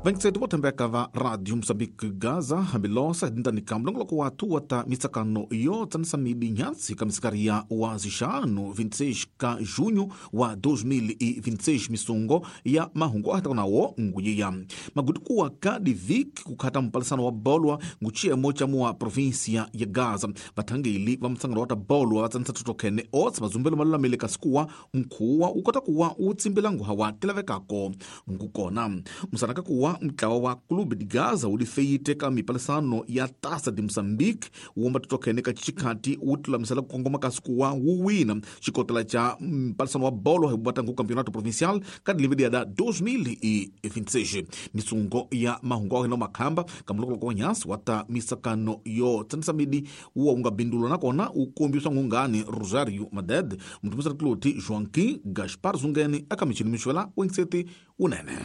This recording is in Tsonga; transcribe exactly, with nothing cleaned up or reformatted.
Vaingiseti vo tshembeka va Radio Mozambique Gaza hambilosa hidintani ka mulongoloko wa tuwa ta mitsakano yo tsanisa midi nhansi ka misikaria wa zixanu vinte e seis ka junho wa dois mil e vinte e seis misungo ya mahungu ahitaka nawo nguyiya magudikuwa ka divik kukhata mpalisano wa bolwa nguchiyemo cha muwa província ya Gaza. Vathangeli va mtsangano wa ta bolwa va tsanisa totokhene otsa mazumbelo malulamile kasi kuwa mkhuwa wu kota kuwa wu tsimbila nguha wa tilavekako ngukona musanaka kuwa mutlawa wa Clube de Gaza wu lifeyite ka mipalisano ya Taça de Moçambique wu totokhene ka chikhati wu tilulamisela ku kongoma kasi kuwa wu wina xikotela cha mpalisano wa bolo hi vatangu campeonato provincial ka dilivedi da dois mil e vinte e seis. Misungo ya mahungu a hina makhamba ka mulokoloko wa nyasi wa ta misakano yo tsanisa midi wuwa wu nga bindulwa nakona wu kombiswa ngungani Rosario Maded mutumisela kiloti Joaquim Gaspar Zungeni aka michini mixwela wengiseti wunene.